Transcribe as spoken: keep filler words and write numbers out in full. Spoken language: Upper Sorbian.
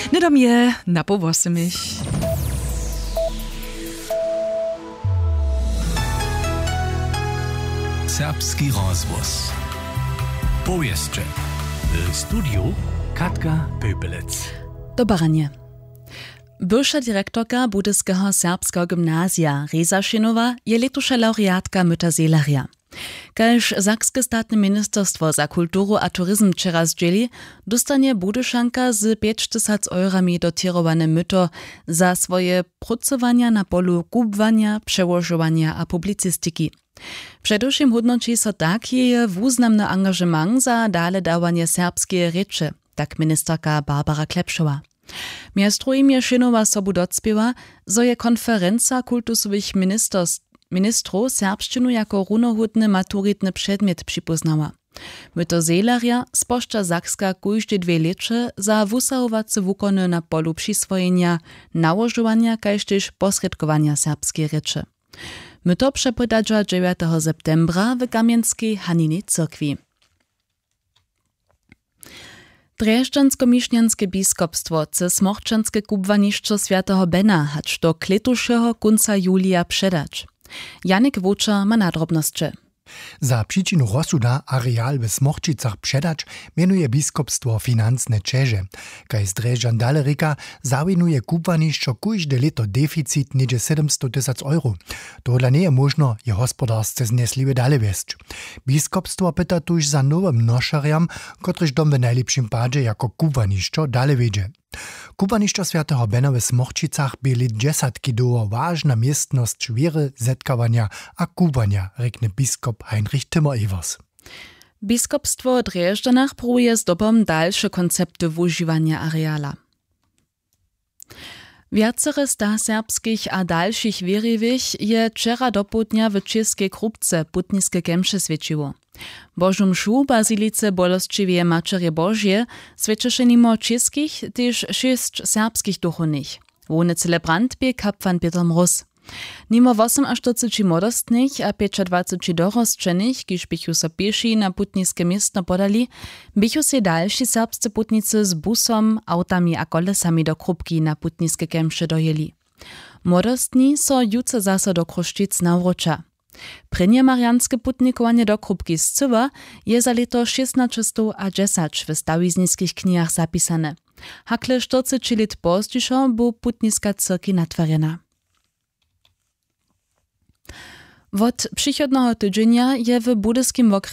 Hnydom je na poł wosomich. Serbski rozhłos. Powěsće. W studiju Katka Pöpelec. Dobaranje. Bywša direktorka Budyskeho serbskeho gymnazija Reza Šěnowa je lětuša lawreatka Myta Zehlerja. Kaž sakske statne ministerstwo za kulturu a turizm wčera zdźěli, dóstanje Budyšanka z pjećtysac eurami dotěrowane myto za swoje prócowanja na polu kubłanja, přełožowanja a publicistiki. Předewšěm hódnoći so tak jeje wuznamny angažement za daledawanje serbskeje rěče, tak ministerka Barbara Klepšowa. Mjez druhim je Šěnowa sobu docpěła, zo je konferenca kultusowych ministers-, ministrow serbšćinu jako runohódny maturitny předmjet připóznała. Myto Zehlerja spožča Sakska kóžde dwě lěće za wusahowace wukony na polu přiswojenja, nałožowanja kaž tež posrědkowanja serbskeje rěče. Myto přepodadźa dźewjateho septembra w Kamjenskej Haninej cyrkwi. Drježdźanskomišnjanske biskopstwo chce smorčanske kubłanišćo swjateho Bena hač do klětušeho kónca julija předać. Janik Wočer ma nadrobnosće. Za přičinu rozsuda areal w Smorčicach předać mjenuje biskopstwo financne ćeže. Kaž z Drježdźan dale rěka, zawinuje kubłanišćo kóžde lěto deficit něhdźe sydomstow tysac euro. Tohodla njeje móžno je hospodarsce znesliwje dale wjesć. Biskopstwo pyta tuž za nowym nošerjam, kotryž dom w najlěpšim padźe jako kubłanišćo dale wjedźe. Kubłanišćo swjateho Bena w Smorčicach bě lět dźesatki dołho wažna městnosć wěry, zetkawanja a kubłanja, rjekny biskop Heinrich Timmer-Evers. Biskopstwo w Drježdźanach pruwuje zdobom dalše koncepty wužiwanja areala. Wjacere sta serbskich a dalšich wěriwych je wčera dopołdnja w Čěskej Krupce putniske kemše swjećiło. Božu mšu w bazilice Bolesćiweje Maćerje Božeje swjećeše nimo čěskich tež šěsć serbskich duchownych. Hłowny celebrant bě kapłan Pětr Mróz. Nimo wosomaštyrceći młodostnych a pjećadwaceći dorosćenych, kiž běchu so pěši na putniske městno podali, běchu sej dalši serbsce putnicy z busom, awtami a kolesami do Krupki na putniske kemše dojěli. Młodostni so jutře zaso do Chrósćic nawróća. Prěnje marianske putnikowanje do Krupki scyła je za lěto šěstnaćestowdźesać w stawizniskich knihach zapisane. Hakle štyrceći lět pozdźišo bu putniska cyrki natwarjena. Wot přichodneho tydźenja je w budyskim wokrjesu